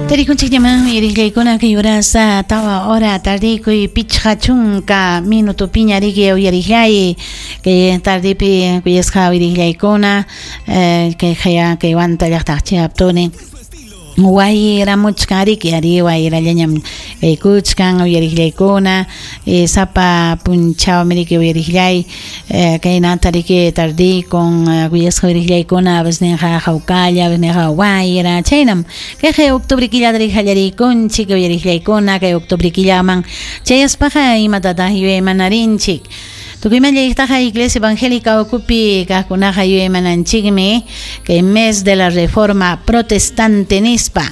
Tarikunchikñamá uyariqllaykuna kay urasa 4 hora tardikuy 50 minutopiña riki uyariqllay kay tardipi kuyasqa uyariqllaykuna kay haya kay Huanta llaqtaq chayaptuni wayramuchkan riki ari wayrallañam kaykuchkan uyariqllaykuna sapa punchawmi riki uyariqllay kaynata riki tardikun kuyasqa uyariqllaykuna a hawkalla a wayra chaynam kayqa octubre killata riki qallariykunchik uyariqllaykuna kay octubre killaman chayaspaqa imatataq yuyaymanarinchik tukuyman llayqtaqa Iglesia Evangélica ukupi kaqkunaqa yuyaymananchikmi kay mes de la Reforma Protestante nispa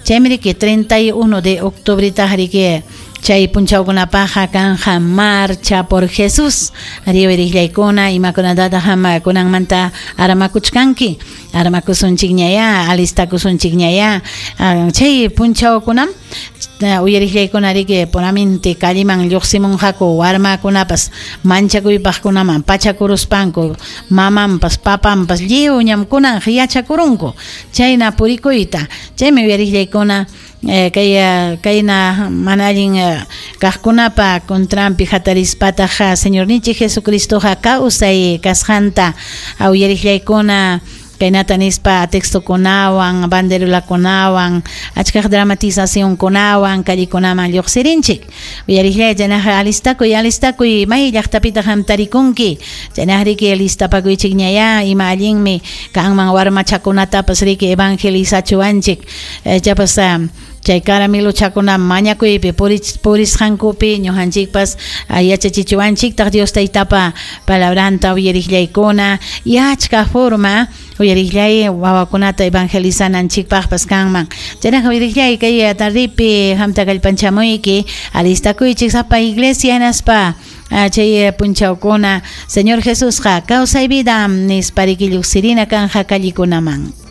chaymi riki 31 de octubretaq riki chay punchawkunapaqa kanja marcha por Jesús ari uyariqllaykuna imakunatataq kunanmanta armakuchkanki armakusunchikñaya alistakusunchikñaya chay punchawkunam uyariqllaykuna riki puramente calleman lluqsimunqaku warmakunapas manchakuypaqkunaman pachakuruspanku mamanpas papanpas lliw ñamkunan yachakurunku chayna purikuyta chaymi uyariqllaykuna kay kayna mana allin kaqkunapa contranpi hatarispataq Señorninchik Jesucristoqa kawsay kasqanta uyariqllaykuna kaynata nispa textokunawan banderolakunawan achkaq dramatizacionkunawan callekunaman lluqsirinchik uyariqllay chaynaqa alistakuy alistakuy may llaqtapitaq hamtarikunki chaynaq riki alistapakuychikñaya ima allinmi kanman warmachakunatapas riki evangelizachuwanchik chapas chay caramiluchakuna mañakuypi purisqankupi ñuqanchikpas yachachichuwanchiktaq Dios taytapa palabranta uyariqllaykuna y achka forma uyariqllay wawakunata evangelizananchikpaqpas kanman chaynaqa uyariqllay kay tardipi hamta kallpanchamuyki alistakuychik sapa iglesia hinaspa chay punchawkuna Señor Jesusqa kawsay vida nispa riki lluqsirina kanja callekunaman.